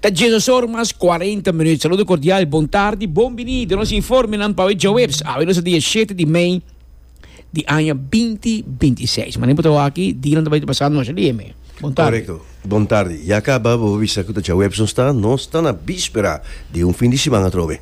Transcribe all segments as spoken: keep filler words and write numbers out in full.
Ta diesdos mas cuarenta minuut. Saludo cordial, bon tardi, bon bini den nos informenan pa djaweps. Awe nos dia shete di mei di aña binti bintiseis. Mas nem aki, dia nan tambe pasando nos dia me. Bon tardi. Correcto. Bon tardi. Ya caba, bo bisa cu djaweps nos ta, nos ta na bispera di un fin di siman atrobe.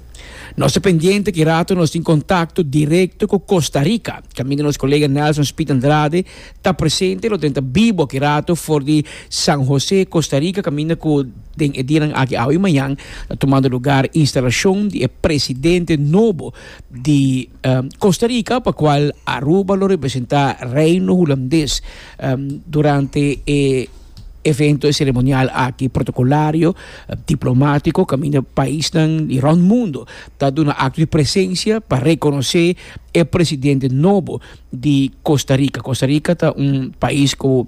Nos ta pendiente cu rato nos tin contacto directo cu Costa Rica. Caminda nos colega Nelson Speed Andrade ta presente, lo tin bibo cu rato for di San Jose, Costa Rica, caminda cu den e dia aki, awe y mañan, ta tumando luga instalacion di presidente nobo di um, Costa Rica, pa cual Aruba lo representa Reino Hulandes um, durante e evento ceremonial aki protocolario, eh, diplomatico, caminda paisnan di rond mundo ta duna acto di presencia pa reconoce e presidente nobo di Costa Rica. Costa Rica ta un pais cu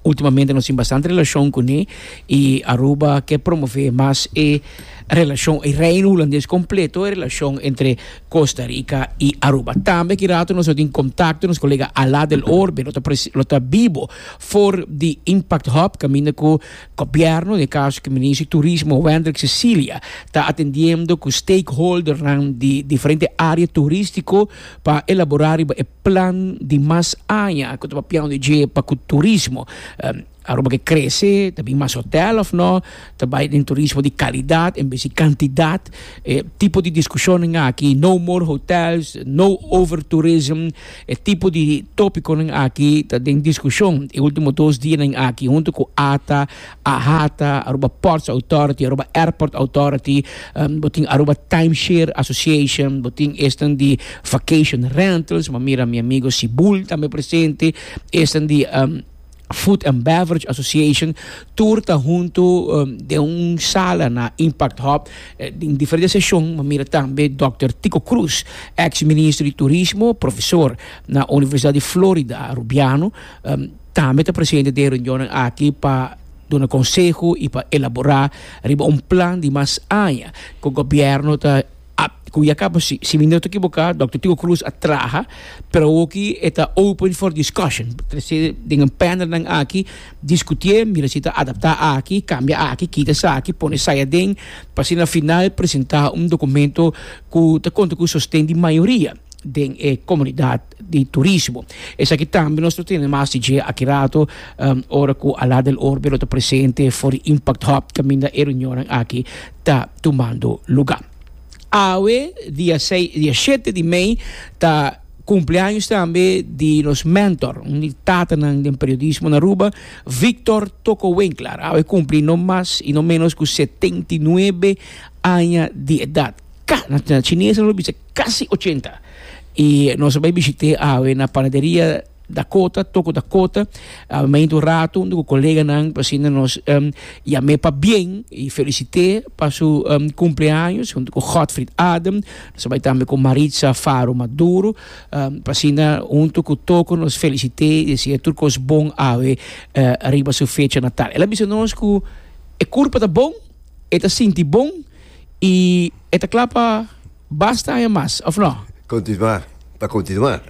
ultimamente nos tin bastante relacion cune y Aruba kier promove mas e relacion e Reino Hulandes completo, e relacion entre Costa Rica y Aruba. Tambe cu rato nos tin contacto, nos colega Alá del Orbe, lo ta lo ta bibo for di Impact Hub, caminda cu gobierno, den caso cu Minister di Turismo Wendrick Cecilia, ta atendiendo cu stakeholder di diferente area turistico pa elabora e plan di mas aña, cu ta plan di pa turismo. Um, Aruba kier crece, tambe mas hotel of no, tambe den turismo di calidad en bes di cantidad, eh, tipo di discusion aki, no more hotels, no overtourism, eh, tipo di topico aki, ta den discusion, e ultimo dos dia aki, hunto cu ATA, AHATA, Aruba Ports Authority, Aruba Airport Authority, um, bo tin Aruba Timeshare Association, bo tin esnan di Vacation Rentals, m'a mira mi amigo Sibul tambe presente, esnan di um, Food and Beverage Association, tur ta hunto um, den un sala na Impact Hub, eh, den diferente sesion, m'a mira tambe Dòkter Tico Cruz, ex-minister di Turismo, profesor na Universidad di Florida, Arubiano, um, tambe ta presente den e reunion aki pa duna conseho y pa elabora riba un plan di mas aña cu gobierno ta cu ya caba, si, si mi no ta ekivoca, Dòkter Tico Cruz a traha, pero aki ta open for discussion. Den un panel nan aki, discuti, mira si ta adapta aki, cambia aki, kita esaki, pone esaya den, pa na final presenta un documento cu ta conta cu sosten di mayoria den eh, comunidad di turismo. Esaki tambe nos tin mas di aki rato, um, ora cu Ala del Orbe ta presente for Impact Hub, caminda e reunion aki ta tumando luga. Awe, dia seis, dia shete di mei, ta cumpleaños tambe di nos mentor, un tata den periodismo na Aruba, Victor Toko Winkler. Awe cumpli no mas y no menos cu setenta y nuebe aña di edad. Ka, na, na chines nan bisa casi ochenta. Y nos a bay bishit'e awe na panaderia Dakota, Toko Dakota, uh, un rato, un coleganan, asina nos um, yam'e pabien y felicit'e pa su um, cumpleaños, hunto cu Godfried Adam, nos a bay tambe cu Maritza Faro Maduro, um, asina, hunto cu Toko nos felicit'e y desea tur cos bon awe uh, riba su fecha natal. El a bisa nos cu e curpa ta bon, e ta sinti bon y e ta cla pa basta aña mas, of no? Continua, pa continua.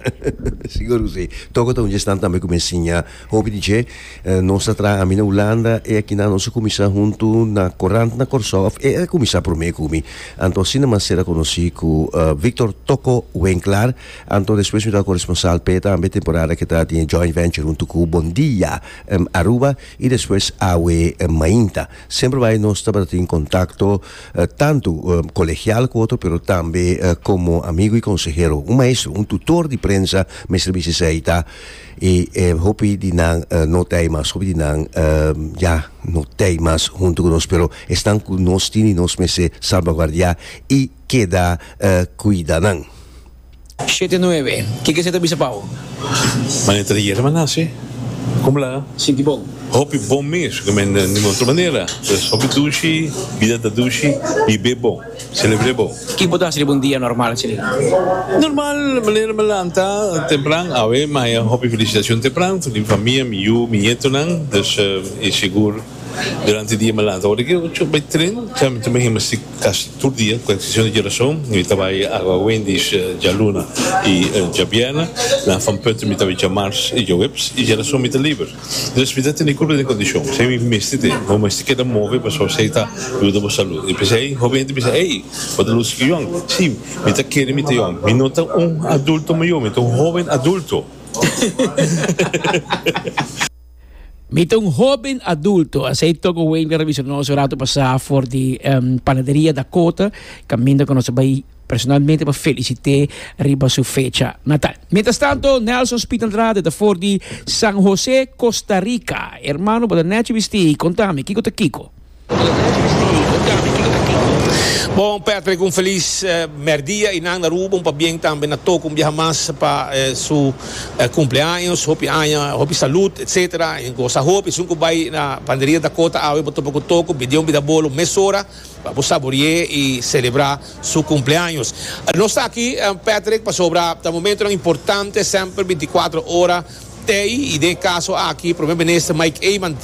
Sigur si. Toko ta un gestan tambe cu ensiña hopi D J. Eh, nos a traha, ami na Hulanda y aki na nos a cuminsa hunto na corant na Corsou. E a cuminsa prome cu mi. Anto asina m'a sera conoci cu uh, Victor Toko Winkler. Anto despues mi ta corresponsal pe tambe temporada cu ta tin joint venture hunto cu Bon Dia um, Aruba y despues Awe um, Mainta. Semper bay nos tabata den contacto uh, tanto um, colegial cu otro, pero tambe uh, como amigo y consehero, un maestro, un tutor di prensa, mester bisa ta y eh, hopi di nan uh, no t'ey mas, hopi di nan uh, ya no t'ey mas hunto cu nos, pero esnan cu nos tin, nos mester salvaguardia y keda uh, cuida nan. shete nuebe. Kico bo ta bisa, Pau? Manera ayera m'a nace. Con la? Sinti bon. Hopi bon mes, cu di otro manera. Dus hopi dushi, bida ta dushi, biba bon, celebra bon. Kico bo ta haci un dia normal, asina? Normal, manera m'a lanta tempran, awe, mas hopi felicitacion tempran, di famia, mi yiu, mi nietonan, dus uh, e sigur. Durante dia mi a lanta ora ki ocho bai tren, ya mi ta gimnastiek kasi tur dia, ku eksepshon di djarason, mi ta bai Agua Wendy's djaluna i djabierna, na Van Putten mi ta bai djamars i djaweps, i djarason mi ta liber. Dus mi ta tene kurpa den kondishon, esei mi mester te, bo mester keda move pasobra esei ta yuda bo salud. I p'esei hopi hende bisa, ey, bo ta lusi yòn. Si, mi ta kere mi ta yòn. Mi no ta un adulto mayor, mi ta un hoben adulto. Mi ta un hoben adulto. Asei Togo Wayne a bisa nos un rato pasá for di Panaderia Dakota, kaminda ku nos a bai personalmente pa felicité riba su fecha natal. Mientras tanto, Nelson Speed Andrade ta for di San Jose, Costa Rica. Hermano, bo ta nechi bisti. Contami, kico ta kico? Bon, Patrick, un feliz merdia y nan na Aruba, un pabien tambe na Toco un biaha mas pa su cumpleaños, hopi aña, hopi salud, etcetera. Y goza hopi, esun cu bay na Panaderia Dakota awe bo topa cu Toco, bidi un bida bolo mesora pa bo saborie y celebra su cumpleaños. Nos ta aki, Patrick, pasobra ta momentonan importante, semper binticuatro ora tey, y den e caso aki Prome Minister Mike Eman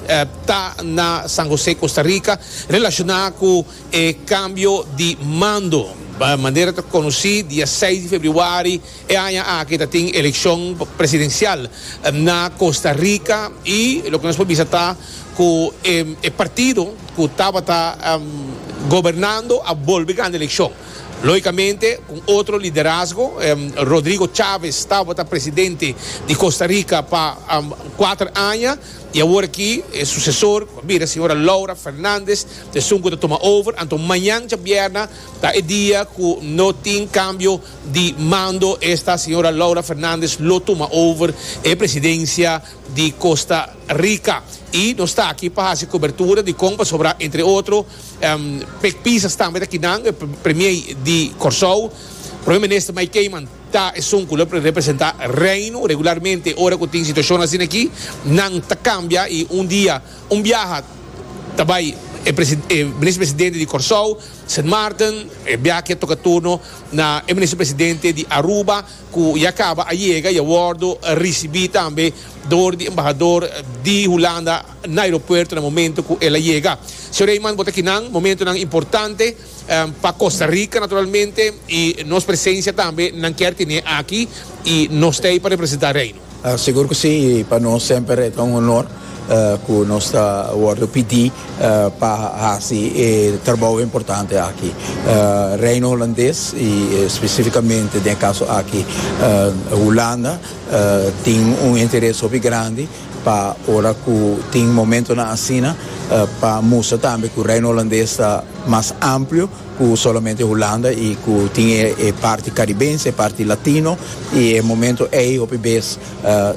ta na San Jose, Costa Rica, relaciona cu e cambio di mando. Manera ta conoci, dia seis di februari e aña aki ta tin eleccion presidencial na Costa Rica, y loke nos por bisa ta cu e partido cu tabata gobernando a bolbe gana eleccion. Logicamente cu otro liderazgo. Rodrigo Chaves tabata presidente di Costa Rica pa cuater aña y awor aki e sucesor cu a bira señora Laura Fernandez ta esun cu ta tuma over. Anto mañan djabierna ta e dia cu no tin cambio di mando, esta señora Laura Fernandez lo tuma over e presidencia di Costa Rica. Y nos ta aki pa haci cobertura di con pasobra entre otro Pek Pisas tambe ta kinan, e premier di Corsou. Prome Minister Mike Eman ta esun cu lo representa Reino. Regularmente ora cu tin situacion asina aki, nan ta cambia y un dia, un biaha ta bay e Minister Presidente di Corsou, Sint Maarten, e biaha aki a toca turno na e Minister Presidente di Aruba cu ya caba a yega y a wordo ricibi tambe door di embahador di Hulanda na aeropuerto na momento cu el a yega. Señor Eman, bo ta kinan, momentonan importante pa Costa Rica naturalmente y nos presencia tambe nan kier tene aki y nos ta ey pa representa Reino. Sigur cu si, y pa nos semper e ta un honor cu nos ta wordo pidi pa haci e trabou importante aki. Reino Holandes y specificamente den e caso aki Hulanda tin un interes hopi grandi pa ora cu tin momentonan asina pa mustra tambe cu Reino Holandes ta mas amplio cu solamente Hulanda y cu tin e parti Caribense, e parti Latino, y e momento ey hopi bes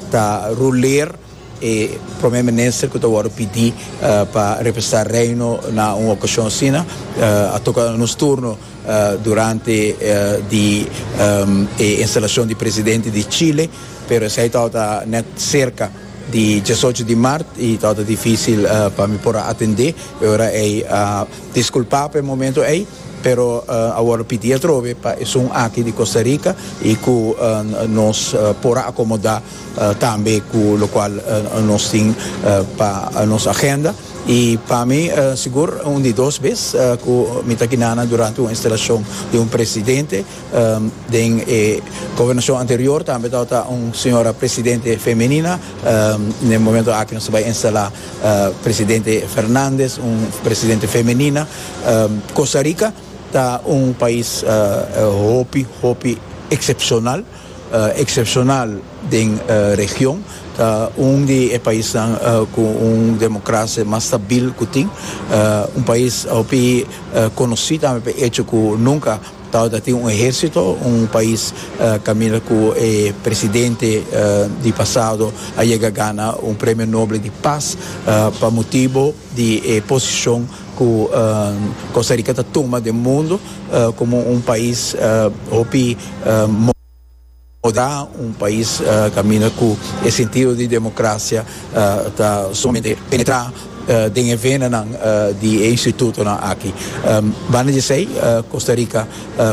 ta ruleer e Prome Minister cu ta wordo pidi pa representa Reino na un ocasion asina. A toca nos turno durante di e instalacion di presidente di Chile, pero esey tabata net cerca di diesocho di mart y tabata dificil pa mi por a atende e ora ey. A disculpa pa e momento ey, pero a wordo pidi atrobe pa esun aki di Costa Rica y cu nos por a acomoda tambe cu locual nos tin pa nos agenda. Y pa mi sigur un di dos bes cu mi ta kinana durante un instalacion di un presidente. Den e gobernacion anterior tambe tabata un señora presidente femenina. Den e momento aki nos ta bay instala presidente Fernandez, un presidente femenina. Costa Rica ta un pais hopi, hopi excepcional, excepcional den region. Ta un di e paisnan cu un democracia mas stabil cu tin. Un pais hopi conoci tambe pa e hecho cu nunca tabata tin un ehercito, un pais caminda cu e presidente di pasado a yega gana un premio Nobel di Paz pa motibo di e posicion cu Costa Rica ta tuma den mundo como un pais hopi moderá, un pais caminda cu e sentido di democracia ta sumamente penetrá den e venanan di e institutonan aki. Banda di esey, Costa Rica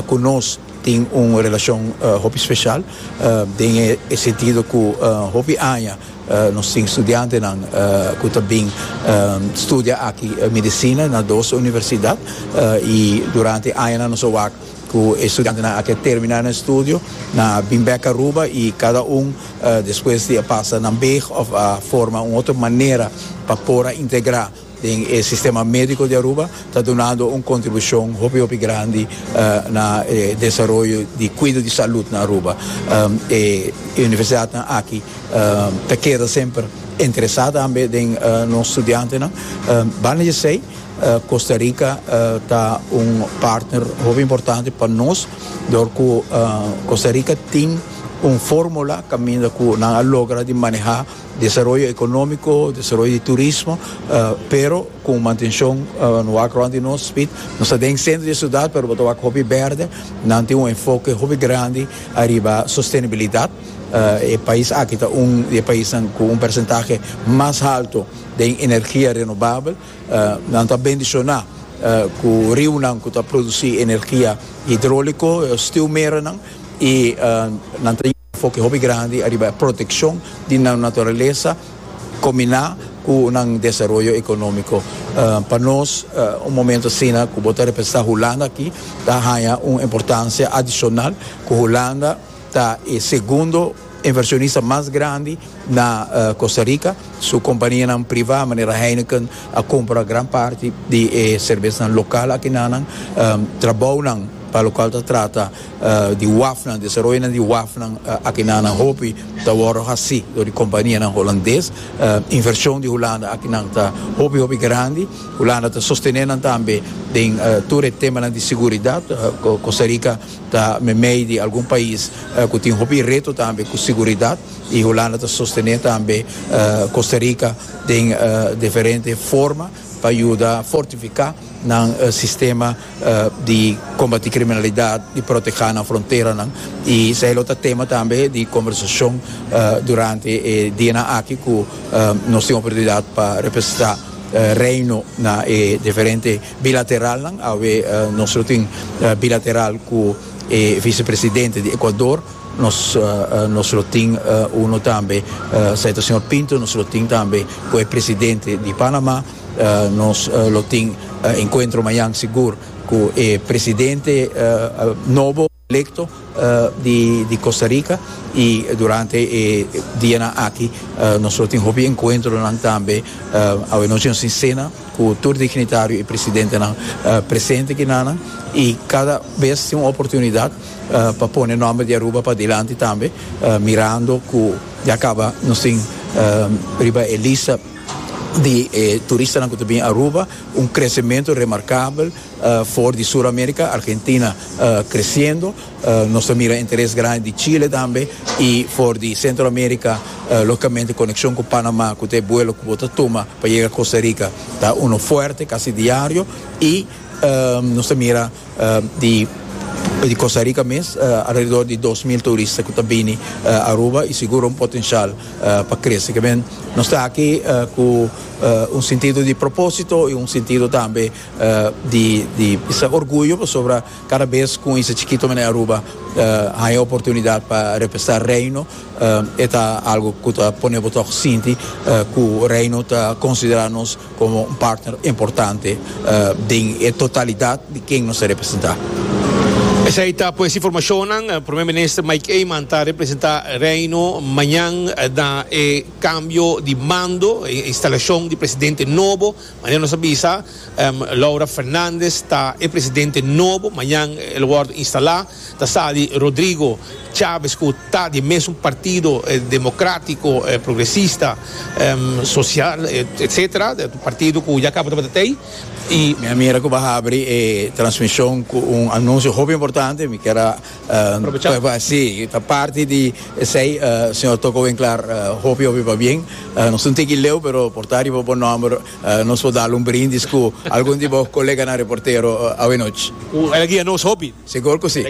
cu nos Tin un relacion uh, hopi special uh, den e sentido cu uh, hopi aña uh, nos tin studiantenan uh, cu ta bin um, studia aki uh, medicina na dos universidad uh, y durante aña nos a wak cu studiantenan aki termina nan estudio, nan a bin back Aruba y cada un uh, despues di pasa nan weg of uh, forma un otro manera pa por integra den e sistema medico di Aruba, ta dunando un contribucion hopi hopi grandi uh, na eh, desaroyo di cuido di salud na Aruba. Um, e universidad aki um, ta keda semper interesa tambe den uh, nos studiantenan. Um, banda di esey, uh, Costa Rica ta uh, un partner hopi importante pa nos, door cu uh, Costa Rica tin un formula caminda cu nan a logra di maneha desaroyo economico, desaroyo di turismo, uh, pero cu mantencion uh, no agro di nos speed, nos ta den centro di ciudad, pero bo ta wak hopi berde, nan tin un enfoke hopi grandi ariba sostenibilidad. Uh, e pais aki ta un di e paisnan cu un porcentahe mas halto di energia renovabel, uh, nan ta bendiciona uh, cu riunan cu ta produci energia hidraulico, stuwmerennan, y uh, nan tin enfoke hopi grandi ariba proteccion di naturalesa combina cu un desaroyo economico. Uh, pa nos, uh, un momento asina, cu bo ta representa Hulanda aki, ta haya un importancia adicional, cu Hulanda ta e segundo inversionista mas grandi na uh, Costa Rica. Su compania priva, manera Heineken, a cumpra gran parti di eh, cerbes local aki nan, um, trabou pa loke ta trata uh, di wafnan, desaroyo di wafnan uh, aki nan hopi ta wordo haci door di companianan hulandes, uh, inversion di Hulanda aki nan ta hopi hopi grandi. Hulanda ta sosteniendo tambe den uh, tur e tema di seguridad. uh, Costa Rica ta meimei di algun pais uh, cu tin hopi reto tambe cu seguridad y Hulanda ta sosteniendo tambe uh, Costa Rica den uh, diferente forma pa yuda fortifica nan uh, sistema uh, di combati criminalidad, di proteha nan fronteranan. Y esey ta tema tambe di conversacion uh, durante e dia aki cu uh, nos tin oportunidad pa representa uh, Reino na eh, diferente bilateral. Awe uh, nos tin uh, bilateral cu e vicepresidente di Ecuador, nos uh, nos tin uh, uno tambe, uh, señor Pinto, nos tin tambe cu e presidente di Panama, uh, nos uh, lo tin uh, encuentro mañan sigur cu e presidente uh, nobo electo uh, di, di Costa Rica y durante e dia aki uh, nos tin hopi encuentro tambe. uh, awe nos tin cena cu tur dignitario y presidente uh, presente aki nan y cada bes tin un oportunidad uh, pa pone nomber di Aruba padilanti tambe, uh, mirando cu ya caba nos tin uh, riba e lista di eh, turistanan cu ta bin Aruba, un crecemento remarcabel uh, for di Sur America, Argentina uh, creciendo, uh, nos mira interes grandi di Chile tambe y for di Centro America, uh, logicamente conexion cu Panama, cu e vuelo cu bo ta tuma pa yega Costa Rica, ta uno fuerte, casi diario y uh, nos mira uh, di di Costa Rica mes, uh, alrededor di dos mil turista cu ta bin uh, Aruba y sigur un potencial uh, pa crece. Kiermen, nos ta aki uh, cu uh, un sentido di proposito y un sentido tambe uh, di, di e orguyo sobre cada bes cu esaki chikito na Aruba uh, e oportunidad pa representa Reino, uh, ta algo cu ta pone bo sinti uh, cu Reino ta considera nos como un partner importante uh, den totalidad di ken nos ta representa. Esey ta pues informacion. Prome Minister Mike Eman ta representa Reino mañan na eh, cambio di mando, instalacion di presidente nobo. Mañan nos a bisa, um, Laura Fernandez ta e presidente nobo, mañan e lo wordo instala, ta sali Rodrigo Chávez cu ta di mesun partido eh, democratico, eh, progresista, um, social, eh, et cetera. Partido cu ya caba di Y mi amiga cu a habri e transmision cu un anuncio hopi importante, mi kier uh, si, ta parti di esey, uh, señor Toko Winklaar, uh, hopi hopi pabien. Uh, nos no tin leu, pero por ta riba bo nomber, uh, nos por dal un brindis cu algun di bo coleganan reportero uh, awe nochi. El a guia nos hopi. Sigur cu si.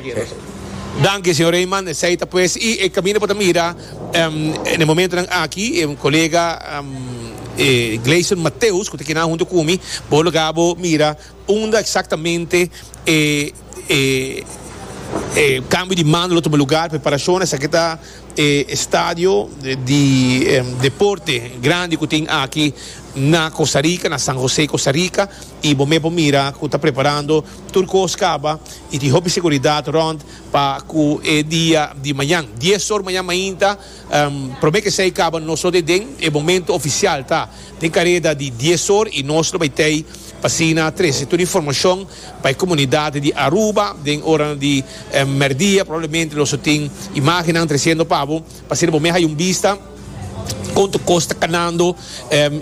Danki, señor Eman. Esey ta pues y e caminda pa mira um, na e momento aki, un colega um, eh, Gleison Mateus, cu ta aki hunto cu mi, bo lo mira unda exactamente eh, eh, E cambio di mando lo tuma lugar, preparacion. Esaki ta e estadio di deporte grandi cu tin aki na Costa Rica, na San Jose, Costa Rica, y bo mes por mira cu ta preparando tur cos caba y tin hopi seguridad rond pa cu e dia di mañan. Dies or mañan mainta, prome cu esey caba nos lo den e momento oficial ta den careda di dies or y nos lo bay tey pa asina trece tur informacion pa e comunidad di Aruba. Den ora di merdia probablemente nos lo tin imagennan treciendo pa bo pa asina bo mes hay un bista con tur cos ta canando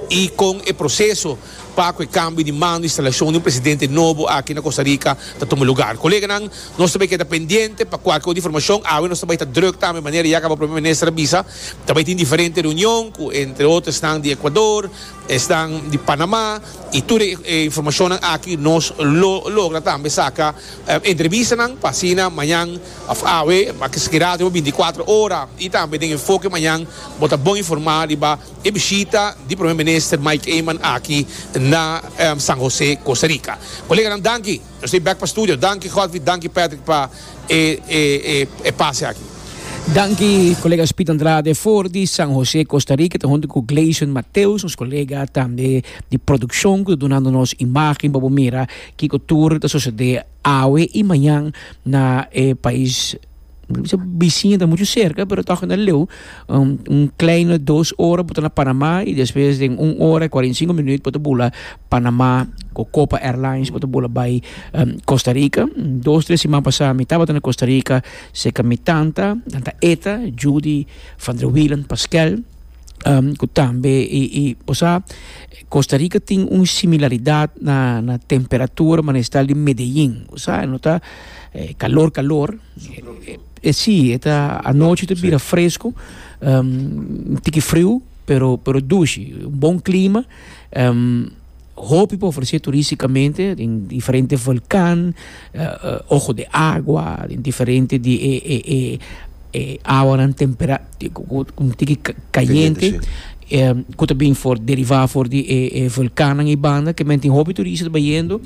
y con e proceso pa cu e cambio di mando, instalacion di un presidente nobo aki na Costa Rica ta tuma lugar. Coleganan, nos ta bay keda pendiente pa cualke otro informacion. Awe nos ta bay ta druk tambe, manera ya caba Prome Minister a bisa, ta bay tin diferente reunion cu entre otro esnan di Ecuador, esnan di Panama y tur e informacionnan aki nos lo logra tambe saca entrevistanan pa asina mañan of awe, pa kira binticuatro ora y tambe den Enfoke mañan bo ta bon informa riba e bishita di Prome Minister Mike Eman aki na San Jose, Costa Rica. Coleganan, danki. Nos ta back pa studio. Danki Godfrey, danki Patrick pa e e e pase aki. Danki colega Speed Andrade for di San Jose, Costa Rica, ta hunto cu Gleison Mateus, nos colega tambe di produccion, cu ta dunando nos imagen pa bo mira kico tur ta sucede awe y mañan na e pais bisiña. Ta mucho cerca, pero toch na leu. Un, un kleine dos ora bo ta na Panama y despues den un ora y cuarenta y cinco minuut bo ta bula Panama cu Copa Airlines, bo ta bula bay um, Costa Rica. Dos, tres siman pasa mi tabata na Costa Rica, cerca mi tanta, tanta Eta, Judy van der Wielen Pascal, um, cu tambe y, y o sea, Costa Rica tin un similaridad na, na temperatura manera di Medellín, o sea, no ta eh, calor, calor. Eh, eh, si, ta anochi ta bira fresco, um, tiki friu, pero pero dushi, un bon clima, um, hopi pa ofrece turisticamente, den diferente volcan, uh, uh, ojo de agua, den diferente di e, e, e, e awa tempera, un tiki cayente, eh, cu tambe for deriva for di e, e volcan y banda, kiermen tin hopi turista bayendo,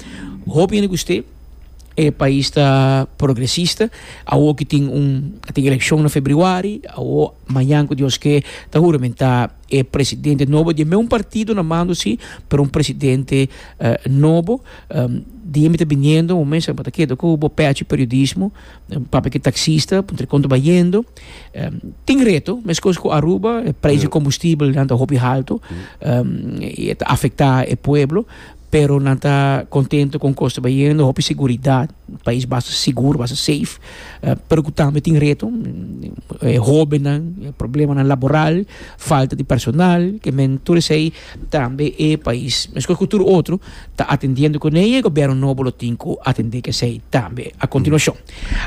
hopi hende gusta. E pais ta progresista. Awo cu tin un tin eleccion na februari, awo mañan cu Dios kier ta huramenta e presidente nobo di un partido na mando si, pero un presidente uh, nobo. Um, di mi ta biniendo, un mes pa keda cu bo pechi periodismo, papia cu taxista, puntra con ta bayendo. Um, tin reto, mescos cu Aruba, e prijs di combustibel ta hopi halto, um, y ta afecta e pueblo, pero nan ta contento cu cos ta bayendo, hopi seguridad, pais basta sigur, basta safe, uh, pero cu tambe tin reto, eh, hobennan, problemanan laboral, falta di personal, kiermen tur esey tambe e pais, mescos cu tur otro, ta atendiendo cu ne, e gobierno nobo lo tin cu atende cu esey tambe a continuacion.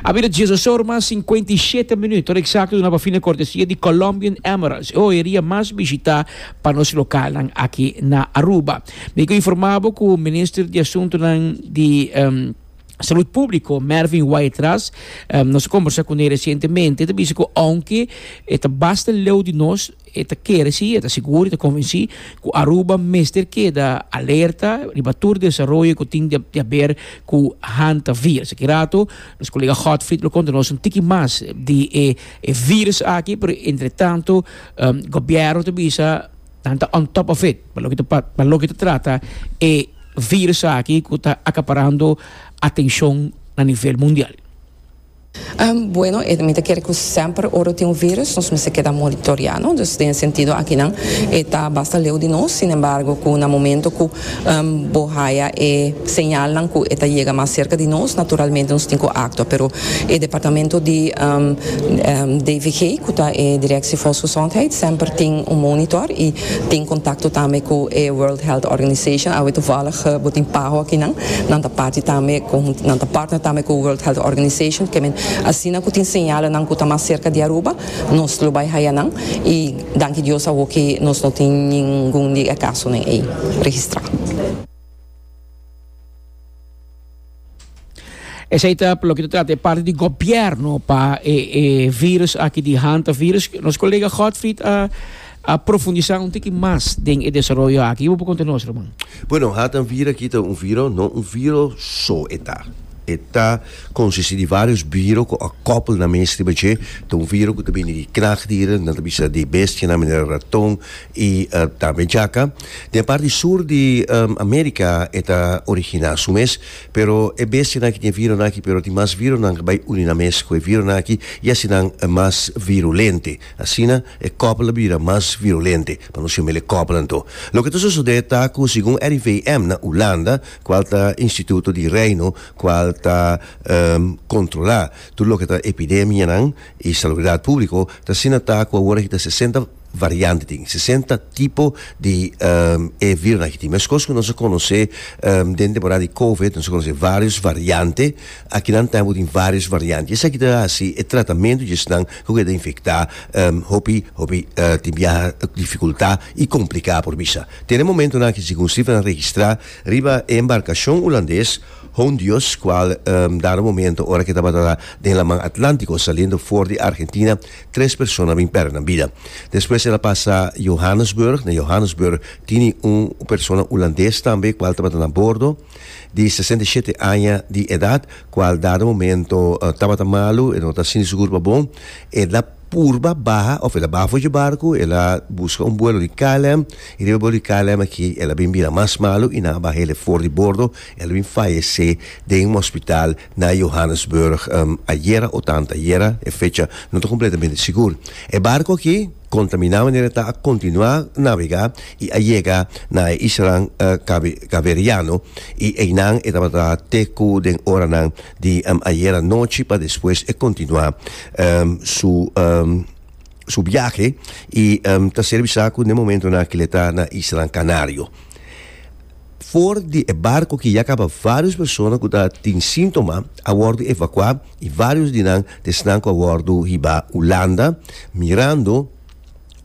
A bira diesdos or mas cincuenta y siete minuut, exacto, una fina cortesia di Colombian Emeralds, e joyeria mas bishita pa nos local aki na Aruba. Mi kier informa cu minister di Asunto di um, Salud Publico, Mervin Wyatt-Ras, um, nos a combersa cu ne recientemente, ta bisa cu aunke ta basta leu di nos, ta kere si, ta sigur, ta convenci cu Aruba mester keda alerta riba tur desaroyo cu tin di haber cu hantavirus. Aki rato, nos colega Godfried lo conta nos un tiki mas di e, e virus aki, pero entre tanto, um, gobierno ta bisa nan ta on top of it, pa loke ta pa loke ta trata e virus aki cu ta acaparando atencion na nivel mundial. Um, bueno, eh, mi ta kere cu semper ora tin un virus, nos mester keda monitorea, no? Dus den sentido aki nan ta basta leu di nos, sin embargo, cu na momento cu um, bo haya e señal cu e ta yega mas cerca di nos, naturalmente nos tin cu actua, pero e departamento di um, um, D V G, cu ta e Directie Volksgezondheid, semper tin un monitor y tin contacto tambe cu e World Health Organization. Awe toevallig bo tin PAHO aki nan, nan ta parti tambe cu nan ta partner tambe cu World Health Organization, kiermen asina cu tin señal nan cu ta mas cerca di Aruba, nos lo bay haya nan y danki Dios awo cu nos no tin ningun di caso nan ey registra. Esey ta loke ta trata parti di gobierno pa e, e virus aki di hantavirus. Nos colega Godfried a a profundisa un tiki mas den e desaroyo aki. Bo por conta nos, Roman. Bueno, hantavirus aki ta un virus, no un virus so e ta. E ta konsistí di vários viro ku a koppel nan mes riba dje. Ta un viro ku ta bini di knaagdieren, nan ta bisa di bestianan manera raton i tambe djaka. Den parti sur di Amerika e ta originá su mes, pero e bestianan aki tin e vironan aki, pero tin mas vironan ku bai uni nan mes ku e vironan aki i hasi nan mas virulente. Asina e koppel a bira mas virulente, pa nos yam'el e koppel anto. Loke ta sosodé ta ku segun R I V M na Hulanda, kual ta Instituto di Reino kual ta kontrolá tur loke ta epidemianan i salubridat públiko, ta asina ta ku awor aki ta sesenta variante tin, sesenta tipo di e virunan aki tin. Meskos ku nos a konosé den temporada di Covid, nos a konosé vários variante, akinan tambe tin vários variante. Esaki ta hasi e tratamentu di esnan ku keda infektá hopi hopi tin biaha difikultá i kompliká, por bisa. Te na e momentunan aki, segun sifranan registrá riba e embarkashon hulandes Hondius, kual dado momento ora ku tabata den laman Atlántiko saliendo for di Argentina, tres persona a bin pèrdè nan bida. Despues el a pasa Johannesburg, na Johannesburg tini un persona hulandes tambe kual tabata na bordo, di sesenta i shete aña di edat, kual dado momento tabata malu, e no ta sinti su kurpa bon, el a purba baha òf el a baha for dje barku, el a buska un buelo di K L M i riba e buelo di K L M aki el a bin bira mas malu i nan a baha el for di bordo, el a bin fayesé den un hospital na Johannesburg ayera o tantu ayera, e fecha no ta kompletamente sigur. E barku aki kontaminá manera ta a kontinuá nabegá i a yega na e islanan Kaberiano i einan e tabata te ku den oranan di ayera nochi pa despues e kontinuá su su biahe i ta ser bisa ku den momentonan aki le ta na islanan Kanario. For di e barko ki ya kaba vários persona ku ta tin síntoma a wòrdu evakuá i vários di nan ta esnan ku a wòrdu hiba Hulanda, mirando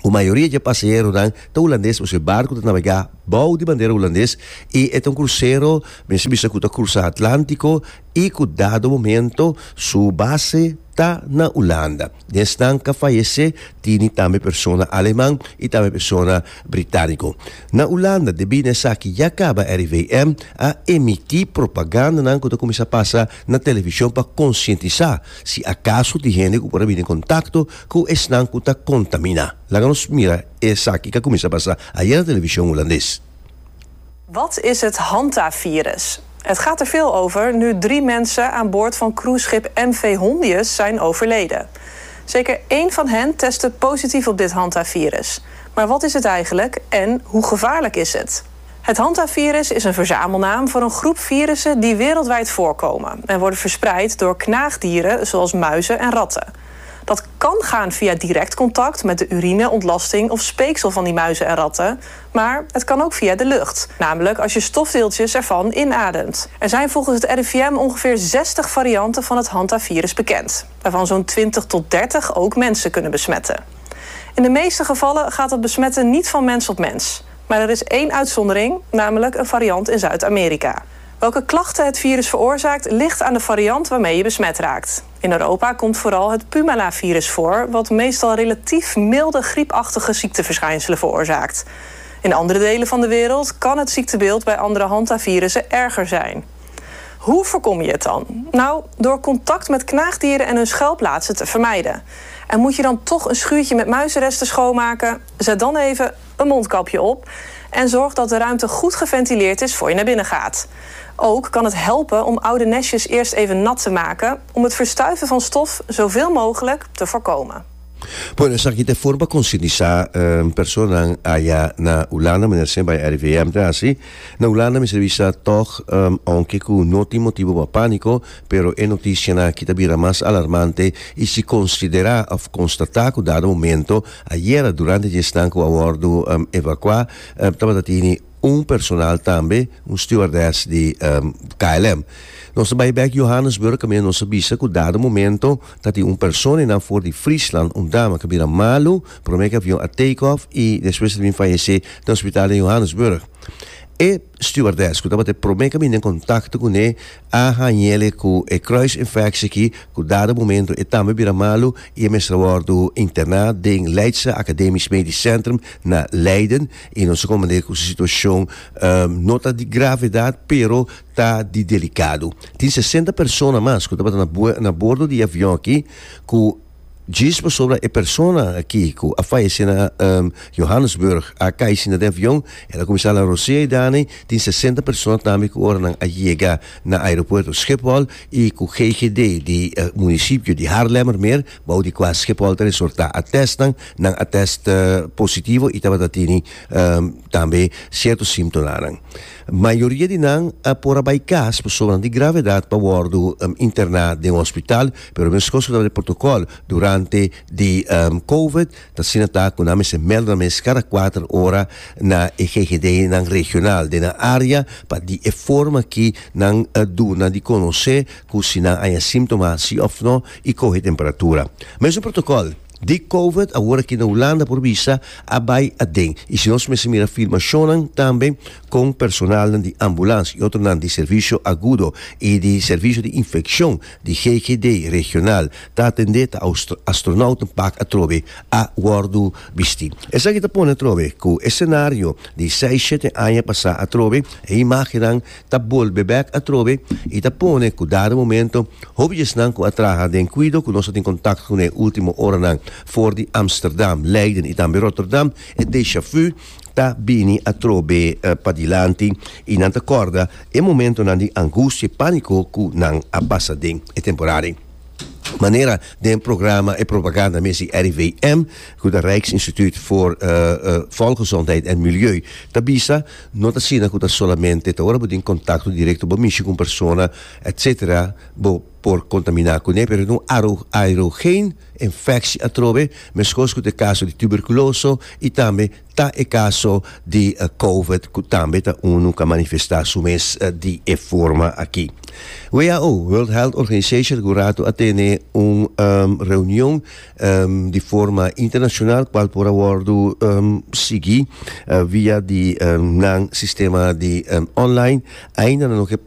ku mayoria di e pasaheronan ta hulandes pasobra e barko ta nabegá bou di bandera hulandes i e ta un krusero mester bisa ku ta krusa Atlántiko i ku dado momento su base ta na Hulanda. Den esnan ku a fayesé tini tambe persona aleman i tambe persona britániko. Na Hulanda debí na esaki ya kaba R I V M a emití propagandanan ku ta kuminsá pasa na televishon pa konsientisá si akaso tin hende ku por a bini en kontakto ku esnan ku ta kontaminá. Laga nos mira esaki ku a kuminsá pasa ayera na televishon hulandes. Wat is het Hanta-virus? Het gaat er veel over nu drie mensen aan boord van cruiseschip M V Hondius zijn overleden. Zeker één van hen testte positief op dit Hanta-virus. Maar wat is het eigenlijk en hoe gevaarlijk is het? Het Hanta-virus is een verzamelnaam voor een groep virussen die wereldwijd voorkomen en worden verspreid door knaagdieren zoals muizen en ratten. Dat kan gaan via direct contact met de urine, ontlasting of speeksel van die muizen en ratten. Maar het kan ook via de lucht, namelijk als je stofdeeltjes ervan inademt. Er zijn volgens het R I V M ongeveer zestig varianten van het Hanta-virus bekend, waarvan zo'n twintig tot dertig ook mensen kunnen besmetten. In de meeste gevallen gaat het besmetten niet van mens op mens. Maar er is één uitzondering, namelijk een variant in Zuid-Amerika. Welke klachten het virus veroorzaakt, ligt aan de variant waarmee je besmet raakt. In Europa komt vooral het Puumala-virus voor, wat meestal relatief milde griepachtige ziekteverschijnselen veroorzaakt. In andere delen van de wereld kan het ziektebeeld bij andere hantavirussen erger zijn. Hoe voorkom je het dan? Nou, door contact met knaagdieren en hun schuilplaatsen te vermijden. En moet je dan toch een schuurtje met muizenresten schoonmaken? Zet dan even een mondkapje op en zorg dat de ruimte goed geventileerd is voor je naar binnen gaat. Ook kan het helpen om oude nestjes eerst even nat te maken om het verstuiven van stof zoveel mogelijk te voorkomen. Bueno, esaki ta forma konsientisá um, personanan aya na Hulanda, manera semper R I V M ta hasi. Na Hulanda mester bisa toch, um, aunke ku no tin motibu pa pániko, pero e notisianan aki ta bira mas alarmante i si konsiderá òf konstatá ku dado momento ayera durante di esnan ku a wòrdu um, evakuá, um, tabata tini un personal tambe, un stewardess di um, K L M. Nos bai bèk Johannesburg, kaminda nos a bisa ku dado momento tabatin un persona na for di Friesland, un dama ku a bira malu, promé ku avion a take off i despues a bin fayesé na hospital di Johannesburg. E stewardess ku tabata promé ku a bini den kontakto kuné a hañ'é ku e kruisinfectie aki, ku dado momento e tambe bira malu i e mester wòrdu interná den Leidse Academisch Medisch Centrum na Leiden i nos a komprondé ku e situashon um, no ta di gravedat, pero ta di delikado. Tin sesenta persona mas ku tabata na, na bordo di avion aki ku djis pasobra e persona aki ku a fayesé na um, Johannesburg a kai sina den avion, el a kuminsá hala rosea i dani, tin sesenta persona tambe ku ora nan a yega na aeropuerto Schiphol i ku G G D di uh, munisipio di Haarlemmermeer, bou di kua Schiphol ta resortá, a test nan, nan a test uh, positivo i tabata tini um, tambe sierto símptomanan. Mayoria di nan a por a bai kas pasobra di gravedat pa wòrdu um, interná den hospital, pero meskos ku e protokòl durante di um, COVID, ta asina ta ku nan mester meld nan mes kada kuater ora na G G D nan regional den área pa di e forma ku nan uh, duna di konosé ku si nan hay síntoma si òf no i kohe temperatura. Mesun protokòl di COVID, awor aki na Hulanda por bisa a bai aden. I si nos mira filmashon tambe ku personal di ambulans i otro di servisio agudo i di servisio di infekshon di G G D regional, ta atendé ta astronautenpak atrobe a wòrdu bisti. Esaki ta pone atrobe ku esenario di seis, shete aña pasá atrobe e imágennan ta bolbe bèk atrobe i ta pone ku dado momento hopi esnan ku a traha den kuido ku nos tin kontakto ku e último oranan for di Amsterdam, Leiden i tambe Rotterdam, e déjà vu ta bini atrobe uh, padilanti i nan ta kòrda e momentonan di angustia i pániko ku nan a pasa den e temporada. Manera den programa e propaganda missie R I V M, ku het Rijksinstituut voor uh, uh, Volksgezondheid en Milieu, ta bisa, no ta asina ku ta solamente ta ora bo tin kontakto direkto, bo mishi ku persona, et cetera, bo por kontaminá kuné, pero no aerogeen infectie atrobe, meskos ku e kaso di tuberkulose i tambe ta e kaso di uh, COVID, ku tambe ta unu ku a manifestá su mes uh, di e forma aki. W H O, World Health Organization, gurato a tene un um, reunion um, di forma internashonal, kual por a wòrdu um, sigui uh, via di um, nan sistema di um, online, ainda no ke